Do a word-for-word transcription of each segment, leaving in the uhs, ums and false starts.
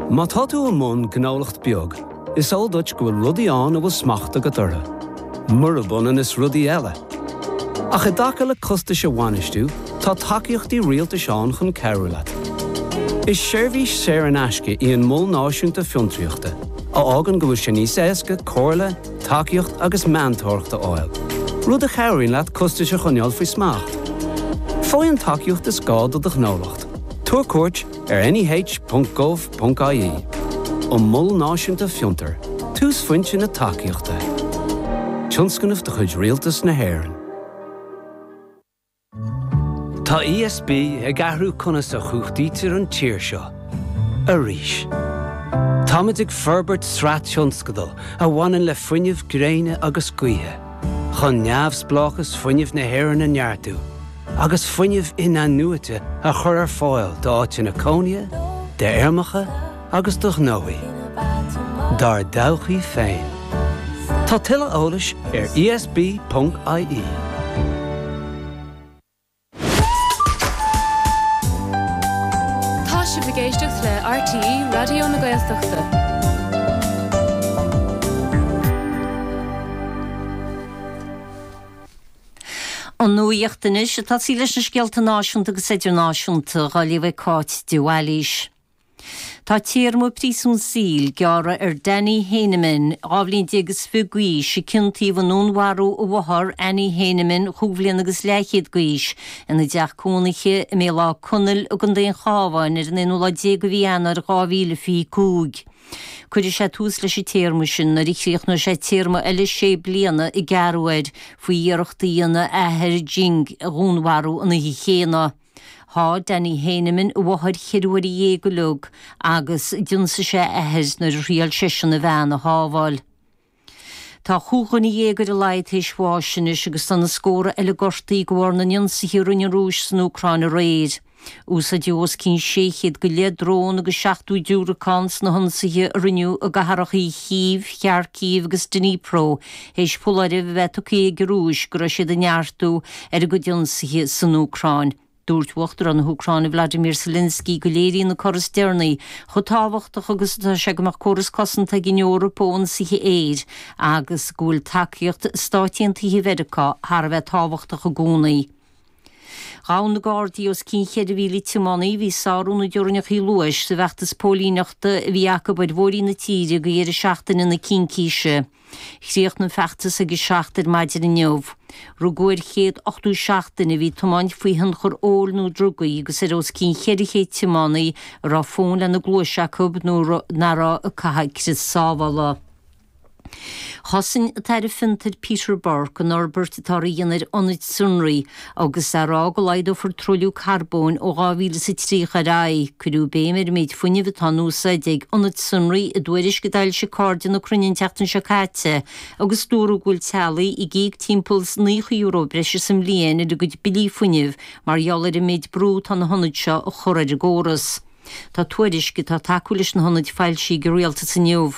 Má tá tú i mbun gnólacht beag, is eol duit go bhfuil rudaí ann a bhfuil smacht agat orthu. Murab ionann is rudaí eile. Ach i dtaca le costais a bhainistiú, tá tacaíochtaí rialtais ann chun cabhrú leat. Is seirbhís saor in aisce í an Mol Náisiúnta Fiontraíochta, a fhágann go bhfuil sé níos éasca comhairle, tacaíocht agus meantóireacht a fháil, rud a chabhraíonn leat costais a choinneáil faoi smacht. Faigh an tacaíocht is gá do do ghnólacht. Tabhair cuairt ar N E H ponc gov ponc I E. An Mol Náisiúnta Fiontar, túsphointe na tacaíochta. Tionscnamh de chuid Rialtas na hÉireann. Tá E S B ag athrú conas a chumhachtaítear an tír seo. Arís. Táimid ag forbairt sraith tionscadal a bhaineann le fuinneamh gréine agus gaoithe, chun neamhspleáchas fuinnimh na hÉireann a neartú, agus fuinneamh in-athnuaite a chur ar fáil d'áiteanna cónaithe, d'fheirmeacha agus do ghnóthaí. Dár dtodhchaí féin. Tá tuilleadh eolais ar E S B ponc I E. Tá sibh ag éisteacht le R T E Raidió na Gaeltachta. An nuacht anois ag tosaí leis na scéalta náisiúnta agus idirnáisiúnta á léamh ag Cáit de Bhailís. Tá téarma príosún saoil gearrtha ar Danny Heineman, dhá bhliain déag is fiche d'aois, a ciontaíodh i ndúnmharú a mháthar Annie Heineman, chúig bhliana agus leathchéad d'aois, ina dteach cónaithe i mBéal Átha Conaill i gContae an Chabháin ar an aonú lá déag de mhí Eanáir dhá mhíle fiche cúig. Cuirfidh sé tús leis an téarma sin nuair a chríochnóidh sé téarma eile sé bliana a gearradh air faoi iarracht a dhéanamh a athair Jing a dhúnmharú an oíche chéanna. Sháigh Danny Heineman a mháthair ceithre huaire dhéag uilig agus d'ionsaigh sé a athair nuair a thriail seisean a bhean a shábháil. Tá chúig dhuine dhéag ar a laghad tar éis bháis anois agus tá na scórtha eile gortaithe de bharr na n-ionsaithe a rinne an Rúis san Úcráin aréir. Úsáideadh os cionn sé chéad go leith drón agus seachtó diúracán sna hionsaithe a rinneadh i gcathracha Chív, Kharkiv agus Dnipro, théis foláireamh a bheith tugtha ag an Rúis go raibh siad ag neartú ar a gcuid ionsaithe san Úcráin. Dúirt Uachtarán na hÚcráine Vladimir Zelensky go léiríonn na cora is deireanaí chomh tábhachtach agus atá sé go mbeadh córas cosanta ag an Eoraip ó ionsaithe aeir agus go bhfuil tacaíocht Stáit Aontaithe Mheiriceá thar a bheith tábhachtach i gcónaí. Ghabh na Gardaí os cionn cheithre mhíle tiománaí a bhí ag sárú na dteorainneacha luais sa bhfeachtas póilíneachta a bhí acu ar bhóithrí na tíre go dheireadh seachtaine na Cincíse. Chríochnaigh an feachtas ag a seacht ar maidin inniu. Rugadh ar chéad ochtó seacht duine a bhí ag tiomáint faoi thionchar óil nó drugaí agus ar os cionn cheithre chéad tiománaí a raibh fón lena gcluais acu nó nach raibh ag caitheamh crios sábhála. Chosain an tAire Fiontair Peter Burke an fhorbairt atá á dhéanamh ar ionaid sonraí agus é ag rá go laghdófar truailliú carbóin ó dhá mhíle is a tríocha ar aghaidh. Cuireadh béim ar an méid fuinnimh atá in úsáid ag ionaid sonraí i dtuairisc a d'fhoilsigh Cairde na Cruinne an tseachtain seo caite agus dúradh go bhfuil teaghlaigh ag íoc timpeall naocha euro breise sa mbliain ar a gcuid billí fuinnimh mar gheall ar an méid brú atá na hionaid seo a chur ar an gcóras. Tá tuairisc atá ag tacú leis na hionaid foilsithe ag an rialtas inniu.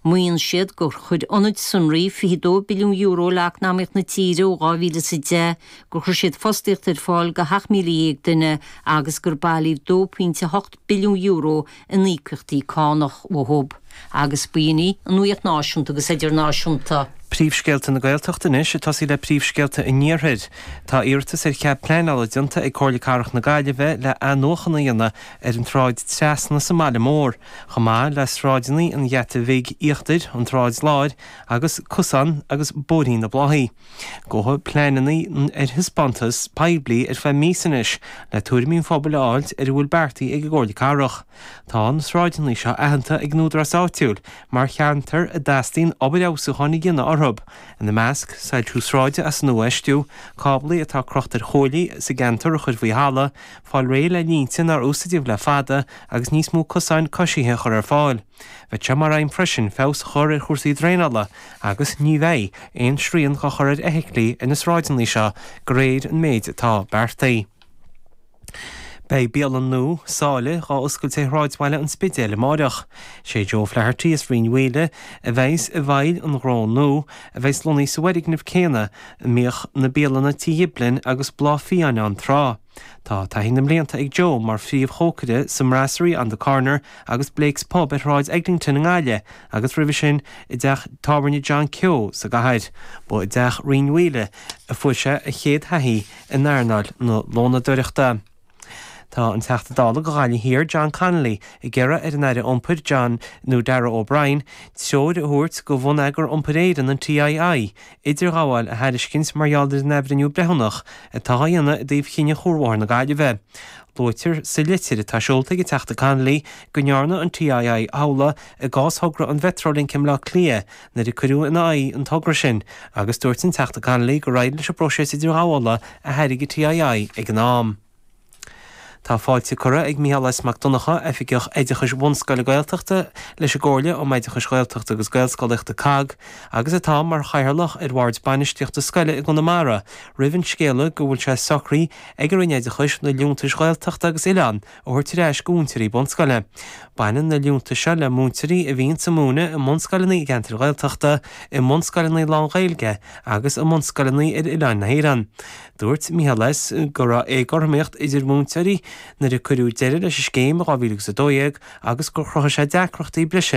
Maíonn siad gur chuir ionaid sonraí fiche dó billiún euro le eacnamaíocht na tíre ó dhá mhíle is a deich, gur chuir siad fostaíocht ar fáil do sheacht míle dhéag duine agus gur bailíodh dó pointe hocht billiún euro in íocaíochtaí cánach uathu. Agus b'in í an nuacht náisiúnta agus idirnáisiúnta. Príomhscéalta na Gaeltachta anois, ag tosaí le príomhscéalta an Iarthair. Tá iarratas ar chead pleanála déanta ag Comhairle Cathrach na Gaillimhe le athnuachan a dhéanamh ar an tSráid Trasna sa mbaile mór, chomh maith le sráideanna an Gheata Bhig Íochtair, an tSráid Láir agus Cosán agus Bóithrín na Bláthaí. Gabhadh pleananna ar thaispeántas poiblí ar feadh míosa anois le tuairimí an phobail a fháilt ar a bhfuil beartaithe ag an gComhairle Cathrach. Tá na sráideanna seo aitheanta ag an údarás áitiúil mar cheantar a dteastaíonn obair fheabhsúcháin a dhéanamh orthu, ina measc soilsiú sráide as nuafheistiú, cáblaí atá crochta ar chuaillí sa gceantar a chur faoi thalamh, fáil réidh le línte nár úsáideadh le fada agus níos mó cosáin coisithe a chur ar fáil. Bheadh sé mar aidhm freisin feabhas a chur ar chúrsaí draenála agus ní bheidh aon srian á chur ar fheithiclí ar na sráideanna seo de réir an méid atá beartaithe. Beidh bialann nua, Sáile, dhá oscailt i Sráidbhaile an Spidéil amáireach. Sé Joe Flaherty as Rinn Mhaoile a bheas i bhfeighil an ghnó nua, a bheas lonnaithe sa bhfoirgneamh céanna a mbíodh na bialanna Tí Ghiblin agus Bláth Fiáin ann tráth. Tá taithí na mblianta ag Joe mar phríomhchócaire sa mBrasserie on the Corner agus Blake's Pub ar Shráid Eglinton i nGaillimh agus roimhe sin i dteach tábhairne John Keogh sa gcathair. Ba i dteach Rinn Mhaoile a fuair sé a chéad thaithí in earnáil na lónadóireachta. Tá an Teachta Dála do Ghaillimh Thiar John Connolly ag iarraidh ar an Aire Iompair John nó Darragh O'Brien treoir a thabhairt do Bhonneagar Iompair Éireann an TII idirghabháil a thairiscint mar gheall ar an athbhreithniú breithiúnach atá á dhéanamh i dtaobh chinneadh Chuarbhóthar na Gaillimhe. Luaitear sa litir atá seolta ag an Teachta Connolly go ndearna an TII amhlaidh i gcás thogra an Mhetrolink i mBleá Cliath nuair a cuireadh ina aghaidh an togra sin agus dúirt an Teachta Connolly gur éirigh leis an bpróiseas idirghabhála a thairg an TII ag an am. Tá fáilte curtha ag Micheál S. Mac Donncha, Oifigeach Oideachais Bhunscoile Gaeltachta leis an gComhairle um Oideachais Ghaeltachta agus Gaelscolaíochta COGG, agus atá mar chathaoirleach ar Bhord Bainistíochta Scoile i gConamara, roimh an scéala go bhfuil sé socraithe ag an Roinn Oideachais na liúntais Ghaeltachta agus Oileán a thabhairt ar ais go mhúinteoirí bunscoile. Baineann na liúntais seo le múinteoirí a bhíonn ag múineadh i mbunscoileanna i gceantair Ghaeltachta, i mbunscoileanna lán-Ghaeilge agus i mbunscoileanna ar oileáin na hÉireann. Dúirt Micheál S. go raibh éagothromaíocht idir múinteoirí nuair a cuireadh deireadh leis an scéim i dhá mhíle agus a dó dhéag agus gur chruthaigh sé deacrachtaí breise